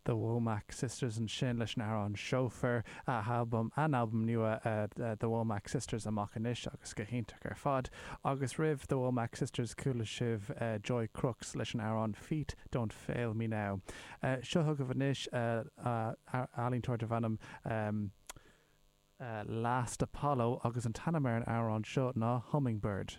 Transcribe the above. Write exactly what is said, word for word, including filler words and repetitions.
The Womack Sisters ansin leis an amhrán Chauffeur a album an album nua uh, uh, The Womack Sisters amach anois agus go hiontach ar fad agus roimh The Womack Sisters chuala sibh uh, Joy Crooks leis an amhrán Feet Don't Fail Me Now. Uh, seo chugaibh anois uh, uh, ealaíontóir darb ainm um, uh, Last Apollo agus an t-ainm ar an amhrán seo ná Hummingbird.